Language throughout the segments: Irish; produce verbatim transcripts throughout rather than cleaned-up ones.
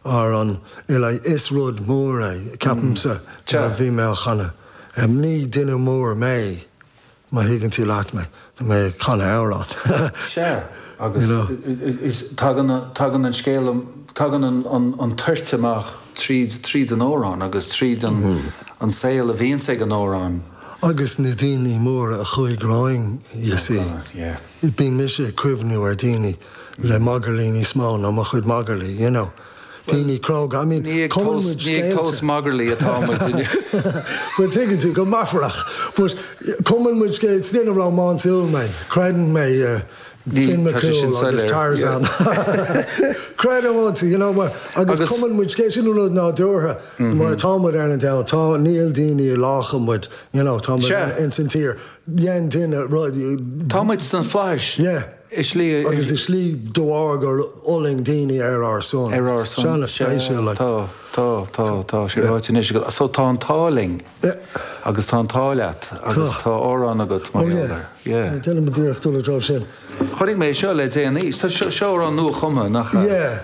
ar an like, is rud mór é ceapaimse Sea. bhí mé á chanadh. Um, ní duine mór mé má thuigeann tú leat mé Tá mé ag canadh amhrán. Sea agus You know. is tagann tagann an scéal tagann an, an, an toirt amach tríd tríd an amhrán agus tríd an, Mm. an saol a bhíonn ag an amhrán. Agus na daoine móra a chuaigh romhainn you see. Yeah. Bíonn mise ag cuimhniú ar daoine le magairlí níos mó ná mo chuid magairlí, you know. Daoine cróga, I mean, Ní ag cumann tomhas muid ní ag scéalta. tomhas magairlí atá muid But tuigeann tú go meafarach, but cumann muid scéal duine rómánsúil mé, creideann mé uh, Ní- Finn tá sé sin McCool agus soiléir, Tarzan. Creidim iontu, you know, mar agus Agus- cumann muid scéal sin rud nádúrtha mar tá muid ar an domhan, tá níl daoine i lácha muid, you know, tá muid Sea. in san tír. Dhein duine rud Tá muid sna flaithis. Yeah. Is slí agus is slí dúar gur fhulaing daoine ar ár son. ar ár son. Seanna spéisiúil, like. Tá tá tá tá sé ráite anois agat. So tá an t-ádh linn Yeah. agus tá an t-ádh leat agus Tá. tá amhrán agat mar Oh, yeah. gheall air. Yeah. Déanam a dúireacht dul dro sin. Chonaic mé seo le déanaí Tá seo seo amhrán nuachumtha nach ea? Yeah.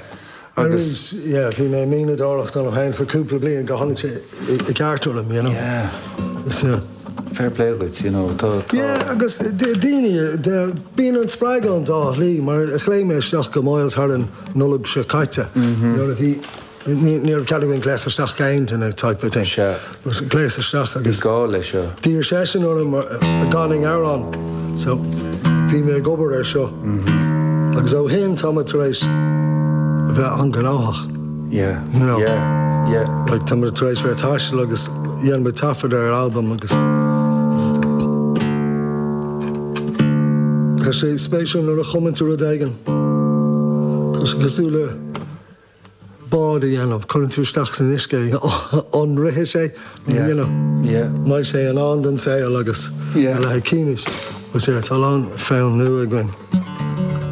Agus- Agus yeah, bhí mé mianadóireacht an féin for cúpla bliain go tháinig sé i i gceart orm, you know. Yeah. So, Fair play duit, you know, tá tá yeah, agus d- daoine de- bíonn an spreagadh an dá shlí mar a chléim mé isteach go Moyles thar an Nollaig seo caite. Nuair a bhí ní ní raibh cead againn glaoch isteach gain in a type of thing. Sea. But Glaoch isteach agus gá leis seo. D'iarr seisean orm an gcanfainn amhrán so bhí mé ag obair ar seo. Agus ó shin tá tar éis bheith an-ghnóthach. Yeah. You know. Yeah. Yeah. Like tá tar éis bheith taisteal agus dhein muid taifead ar album agus Tá sé spéisiúil nuair a chumann tú rud éigin. Tá sé cosúil le bád a dhéanamh, cuireann tú isteach san uisce an rithfidh sé, Yeah. you know. Yeah. Mbeidh sé in ann don saol agus Yeah. le cínis. But yeah, tá lán fonn nua againn.